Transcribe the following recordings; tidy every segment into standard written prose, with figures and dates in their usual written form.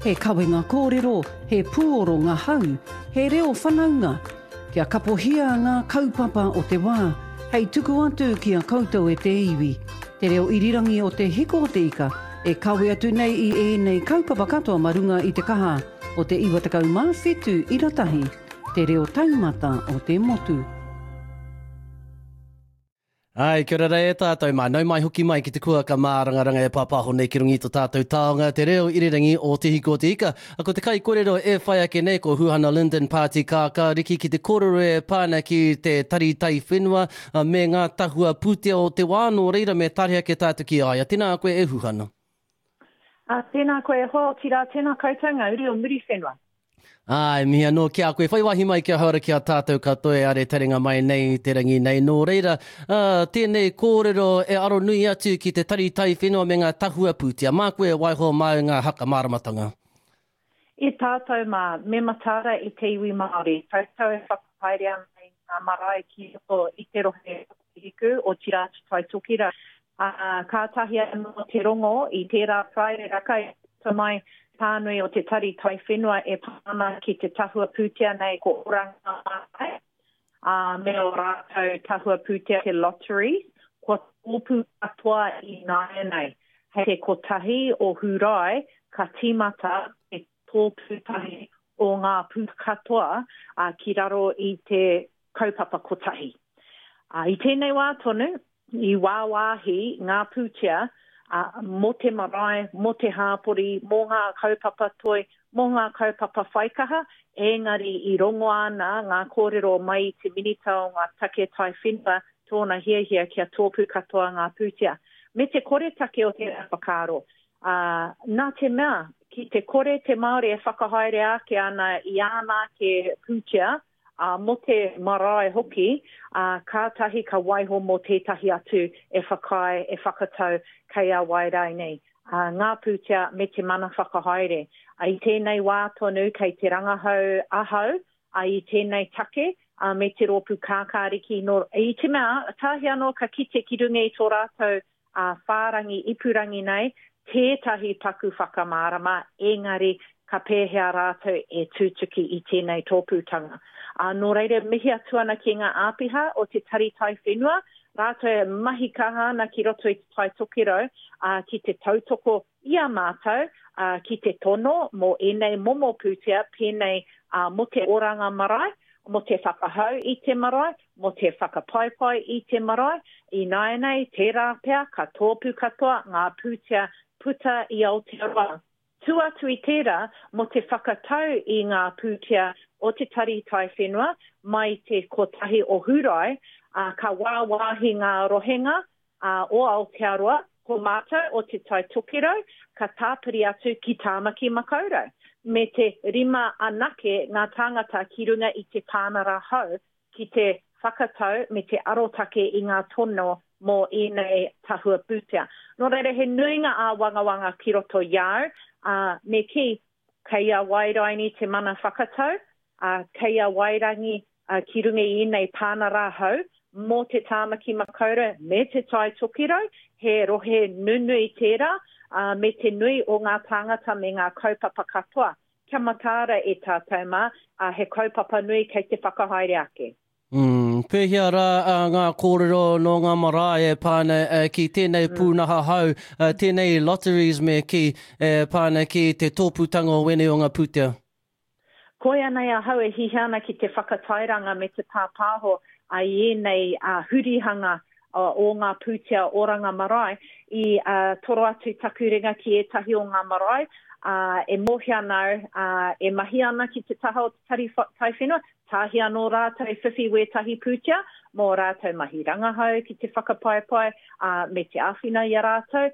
He kawenga kōrero, he pūoro ngahau, he reo whanaunga. Kia kapohia ngā kaupapa o te wā, hei tuku atu ki a koutou e te iwi. Te reo irirangi o Te Hiko o te Ika e kawe atu nei i ēnei kaupapa katoa ma runga i te kaha o te 97 ira tahi, te reo taumata o te motu. Ai, kia ora rā e tātou mā. Nau mai hoki mai ki te kuaka mārangaranga e pāpāho nei ki runga i to tātou taonga, te reo irirangi o Te Hiko o Te Ika. Ko te kaikorero e whai ake nei ko Huhana Lyndon Pāti Kākāriki ki te kōrero e pā ana ki te Tari Taiwhenua me ngā tahua pūtea o te wā, nō reira me tare ake tātou ki a ia. Tēnā koe e Huhana. Tēnā koe e hoa, otirā tēnā koutou ngā uri o Muriwhenua. Āe, mihi anō ki a koe. Whai wāhi mai kia hauora ki a tātou katoa e are taringa mai nei i te rangi nei. Nō reira, ā, tēnei kōrero e aro nui atu ki te Tari Taiwhenua me ngā tahua pūtea. Māku e waiho māu ngā haka māramatanga. I tātou mā, me mataara i te iwi Māori, koutou e whakahaere ana i ngā marae ki roto i te rohe o Te Hiku, otirā Te Tai Tokerau. Ā, kātahi anō te rongo i tērā Paraire-raka i puta mai te pānui o te Tari Taiwhenua e pā ana ki te tahua pūtea nei ko Oranga Marae, ā, me ō rātou tahua pūtea te Lotteries, kua tōpū katoa ināianei. Hei te kotahi o Hūrae ka tīmata te tōpū tahi o ngā pūtea katoa, ā, ki raro i te kaupapa kotahi. Ā, i tēnei wā tonu, i wāwāhi ngā pūtea, ā, mō te marae, mō te hāpori, mō ngā kaupapa toi, mō ngā kaupapa whaikaha, ēngari i rongoa ana ngā kōrero mai i te Minita o ngā Take Taiwhenua tōna hiahia kia tōpū katoa ngā pūtea. Me te koretake o tērā whakaaro, ā, nā te mea, ki te kore te Māori e whakahaere ake ana i āna ake pūtea, ā, mō te marae hoki, ā, kātahi ka waiho mō tētahi atu e whakaae, e whakatau kei a wai rānei, ā, ngā pūtea me te mana whakahaere. Ā, i tēnei wā tonu kei te rangahau ahau, ā, i tēnei take, ā, me te rōpū kākāriki, nō, i te mea, tāhi anō ka kite ki runga i tō rātou ā whārangi ipurangi nei tētahi paku whakamārama, engari ka pēhea rātou e tutuki i tēnei tōpūtanga. Ā, nō reira, mihi atu ana ki ngā āpiha o te Tari Taiwhenua, rātou e mahi kaha ana ki roto i Te Tai Tokerau, ā, ki te tautoko i a mātou, ā, ki te tono mō ēnei momo pūtea pēnei, ā, mō te oranga marae, mō te whakahou i te marae, mō te whakapaipai i te marae, ināianei tērā pea ka tōpū katoa ngā pūtea puta i Aotearoa. Tua atu i tērā, mō te whakatau i ngā pūtea o te Tari Taiwhenua mai te kotahi o Hūrae, ā, ka wāwāhi ngā rohenga ā, o Aotearoa, ko mātou o Te Tai Tokerau ka tāpiri atu ki Tāmaki Makaurau, me te rima anake ngā tāngata ki runga i te pānara hou ki te whakatau me te arotake i ngā tono mō ēnei tahua pūtea. Nō reira, he nui ngā āwangawanga ki roto i a au, ā, me kī, kei a Wairaini te mana whakatau, ā, kei a Wairangi ki runga i ēnei pānara hou mō te Tāmaki Makaurau me Te Tai Tokerau, he rohe nunui tērā, ā, me te nui o ngā tāngata me ngā kaupapa katoa. Kia mataara e tātou mā, ā, he kaupapa nui kei te whakahaere ake. Mm, pēhea rā ngā kōrero nō ngā marae e pā ana ki tēnei pūnaha hou, tēnei lotteries me kī, e pā ana ki te tōpūtanga o wēnei o ngā pūtea? Koia nei ahau e hihia ana ki te whakatairanga me te pāpāho i ēnei hurihanga o ngā pūtea oranga marae. I toro atu taku ringa ki ētahi o ngā marae, e mōhio ana au, e mahi ana ki te taha o te Tari Taiwhenua, tāhi anō rātou e whiwhi wētahi pūtea mō rātou mahi rangahau ki te whakapaepae, me te āwhina i a rātou,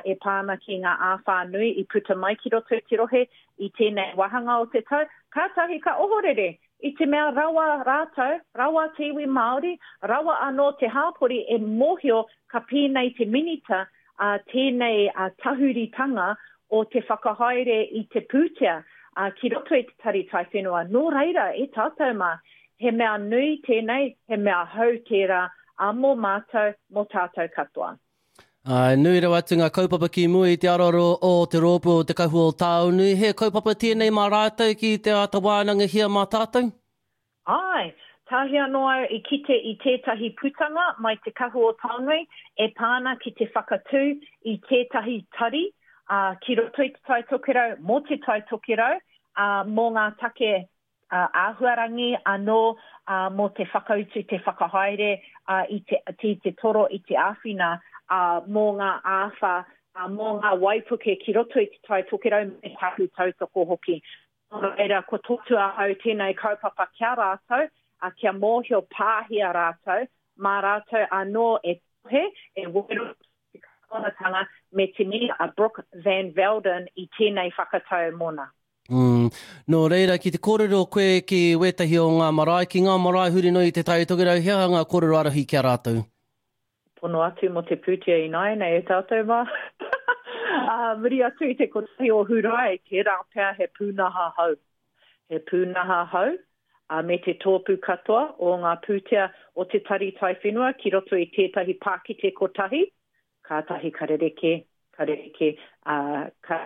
e pā ana ki ngā āwhā nui i puta mai ki roto i te rohe i tēnei wāhanga o te tau, kātahi ka ohorere i te mea rawa rātou, rawa te iwi Māori, rawa anō te hāpori e mōhio ka pēnei te Minita ā, tēnei tahuritanga o te whakahaere i te pūtea ki roto i te Tari Taiwhenua. Nō reira, e tātou mā, he mea nui tēnei, he mea hou tērā, ā, mō mātou, mō tātou katoa. Āe, nui rawa atu ngā kaupapa ki mua i te aroaro o te rōpū o Te Kahu o Taonui. He kaupapa tēnei mā rātou ki te āta wānangahia mā tātou? Āe, tāhi anō au i kite i tētahi putanga mai Te Kahu o Taonui e pā ana ki te whakatū i tētahi tari, ā, ki roto i Te Tai Tokerau, mō Te Tai Tokerau, ā, mō ngā take āhuarangi anō mō te whakautu, te whakahaere i te, i te toro, i te āwhina mō ngā āwhā, mō ngā waipuke ki roto i Te Tai Tokerau me taku tautoko hoki. Nō reira, kua totu ahau tēnei kaupapa ki a rātou, kia mōhio pāhia rātou, mā rātou anō e tohe, e wero te kāwanatanga me te Minita a Brooke Van Velden i tēnei whakatau mōna. Mm. Nō reira, ki te kōrero koe ki wētahi o ngā marae, ki ngā marae huri noa i Te Tai Tokerau, he aha ngā kōrero ārahi ki a rātou? Pono atu mō te pūtea ināianei e tātou mā. Ā muri atu i te kotahi o Hūrae, tērā pea he pūnaha hou. He pūnaha hou, ā, me te tōpū katoa o ngā pūtea o te Tari Taiwhenua ki roto i tētahi pākete kotahi, Kātahi ka rerekē, ka rerekē, ā, ka,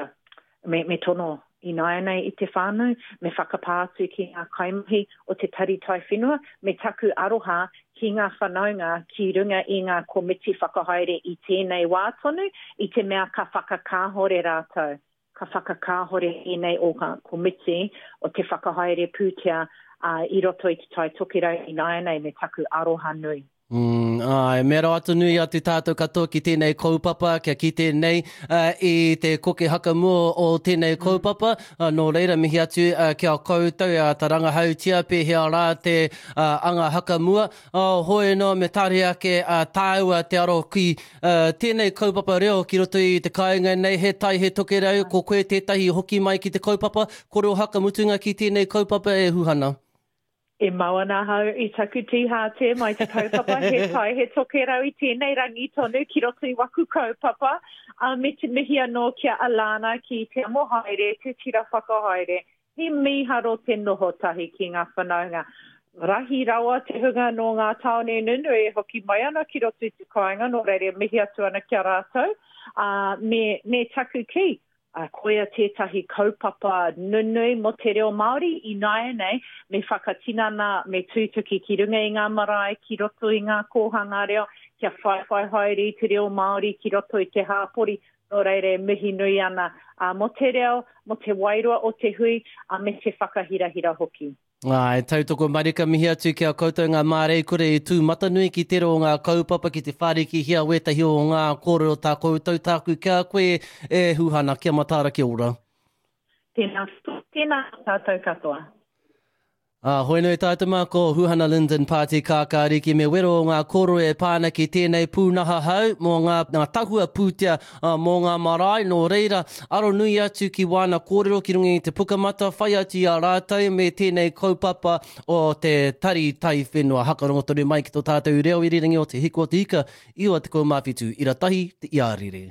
me, me tono ināianei i te whānau, me whakapā atu ki ngā kaimahi o te Tari Taiwhenua, me taku aroha ki ngā whanaunga ki runga i ngā komiti whakahaere i tēnei wā tonu, i te mea ka whakakāhore rātou, ka whakakāhore ēnei o ngā komiti o te whakahaere pūtea, ā, i roto i Te Tai Tokerau ināianei me taku aroha nui. Mm, āe, me rawa atu nui atu tātou katoa ki tēnei kaupapa, kia kite nei uh, i te koke hakamua o tēnei kaupapa. Uh, nō reira, mihi atu uh, ki a koutou e āta rangahautia pēhea rā te uh, anga hakamua. Uh, hoi noa me tāre ake uh, tāua te aro ki uh, tēnei kaupapa reo ki roto i te kāinga nei, he tai, he tokerau, ko koe tētahi hoki mai ki te kaupapa, kore o hakamutunga ki tēnei kaupapa e Huhana. E mau ana ahau i taku tīhāte mai te kaupapa He Tai He Tokerau i tēnei rangi tonu ki roto i waku kaupapa, ā, me te mihi anō ki a Alana ki Te Amohaere, te tira whakahaere. He mīharo te noho tahi ki ngā whanaunga. Rahi rawa te hunga nō ngā tāone nunui e hoki mai ana ki roto i te kāinga, nō reira e mihi atu ana ki a rātou, ā, me, me taku kī, Ā, koia tētahi kaupapa nunui mō te reo Māori ināianei, me whakatinana, me tūtuki ki runga i ngā marae, ki roto i ngā kōhanga reo, kia whaiwhai haere i te reo Māori ki roto i te hāpori, nō reira e mihi nui ana, ā, mō te reo, mō te wairua o te hui, ā, me te whakahirahira hoki. Āe, tautoko marika mihi atu ki a koutou ngā māreikura i tū matanui ki tera o ngā kaupapa ki te whārikihia wētahi o ngā kōrero tā koutou tāku ki a koe e Huhana, kia mataara kia ora. Tēnā, tēnā tātou katoa. Ā, hoi nui tātou mā ko Huhana Lyndon Pāti Kākāriki me wero o ngā kōrero e pā ana ki tēnei pūnaha hau mō ngā, ngā tahua pūtea mō ngā marae, nō reira, aro nui atu ki wāna kōrero ki runga i te Pukamata, whai atu i a rātou me tēnei kaupapa o te Tari Taiwhenua. Hakarongo tonu mai ki tō tātou reo irirangi o Te Hiku o te Ika, 97 ira tahi te iarere.